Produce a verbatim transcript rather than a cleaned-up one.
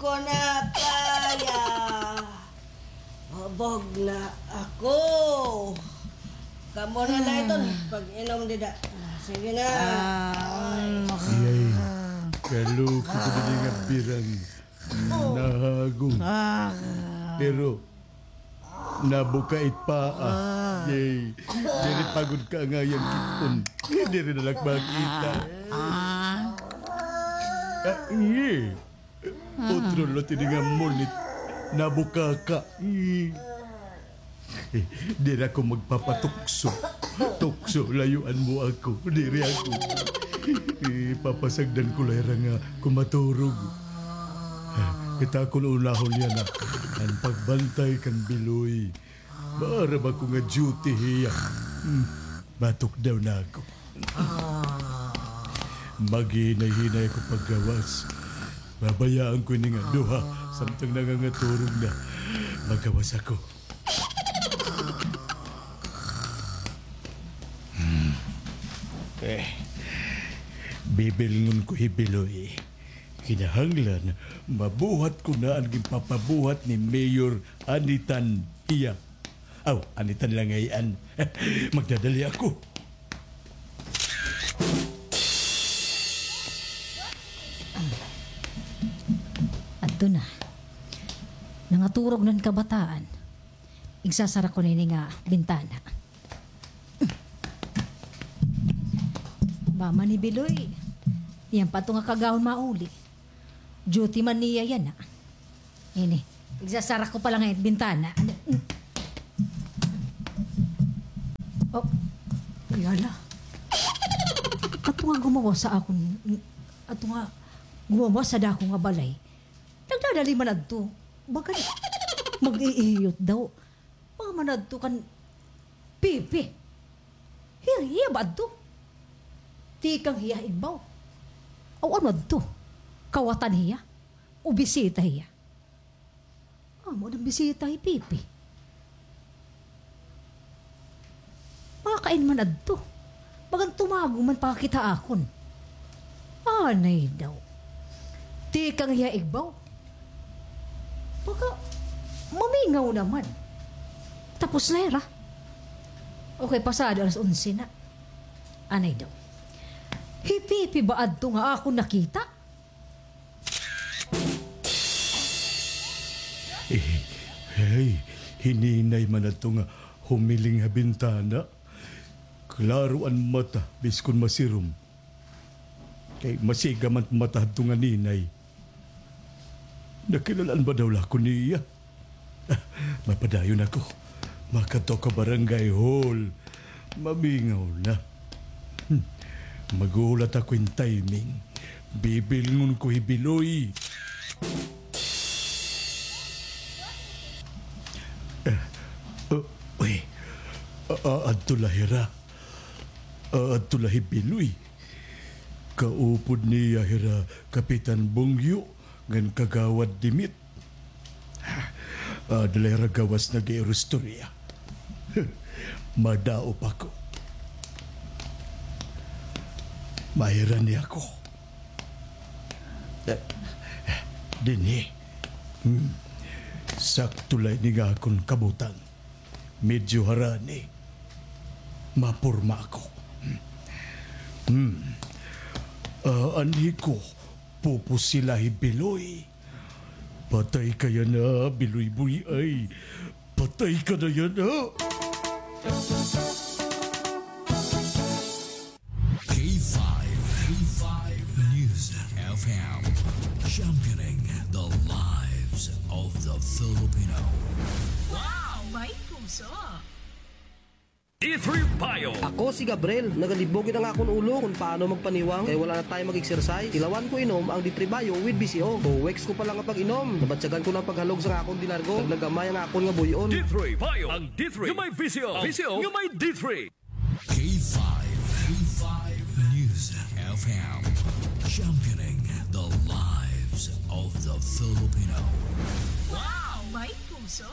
Ko na kaya. Hubog na ako. Kamo na la iton pag-inom dida. Sige na. Ay. Yay. Kaluko ko didi nga birang. Nahagong. Pero nabuka it paa. Yay. Diri pa gud kaangay an kit-on. Diri na la makita. Ah, yay. Otro lot ini nga munit. Nabukaka. Diri ako magpapatukso. Tukso, layuan mo ako. Diri ako. Ipapasagdan ko la hira nga kon maturog. Kita kon unahon niya na an pagbantay kan Biloy. Maaram ako nga duty hiya. Hmm, matukdaw na ako. Maghinay-hinay ako paggawas. Babayaan ko ini nga duha, samtang nangangaturog na. Magawas ako. Hmm. Eh, bibilngon ko hi Biloy. Kinahanglan, mabuhat ko na an ginpapabuhat ni Mayor Anitan hiya. Aw, Anitan la ngay-an. Magdadali ako. Adto na. Nangaturog na an kabataan. Igsasara ko na ini nga bintana. Mama ni Biloy. Iyan pa adto nga kagahon mauli. Duty man niya yana. Ini. Igsasara ko pa la ngay-an it bintana. Oh, yala. Adto nga gumawas ha akon, adto nga gumawas ha dako nga balay. Nagdadali man adto. Baga mag-iiyot daw. Mga man adto kan Pipi. Hir-, hiya ba adto? Tikang hiya ha igbaw. Aw, ano adto? Kawatan hiya? O bisita hiya? Amo adto bisita hi Pipi. Makain man adto. Bagan tumago man pakakita akon. Anay daw. Tikang hiya igbaw. Baka mamingaw naman. Tapos na hira. Okay, pasado alas onse na. Anay daw. Hi Pipi ba adto nga akon nakita? Eh, hey, hi Ninay man adto nga humiling ha bintana. Klaro an mata, biskon masirom. Kay masiga man mata hadto nga Ninay. Nakilal-an ba daw la ako niya? Ah, mapadayon ako. Makadto ako barangay hall. Mamingaw na. Hmm. Maghuhulat ako hin timing. Bibilngon ko hi Biloy. Ah, oh, uy. Ah, ah, adto la hira. Ah, adto la hi Biloy. Kaupod niya hira Kapitan Bongyo ngan Kagawad Dimit. Ah, adto la hira gawas nag-iirustorya. Madaop ako. Mahirani ako. Eh, dinhi. Hmm. Sakto la ini nga akon kabutang. Medyo harani. Maporma ako. Hmm. Ah, anhi ko, pupusila hi Biloy. Patay ka yana, Biloy Boy ay. Patay ka na yana. K five, K five News F M, championing the lives of the Filipino. Wow, may puso. D three Bio. Ako si Gabriel. Nagalibog gud an akon ulo kon paano magpaniwang kay wala na time mag-exercise. Tilawan ko inom ang D three Bio with V C O. Two weeks ko pa lang nga pag-inom, nabatyagan ko na an paghalog sa akon dinargo. Naglagamay ang akon nga buy-on. D three Bio. Ang D three nga may V C O. V C O nga may D three. K five, K five News F M, championing the lives of the Filipino. Wow, may puso.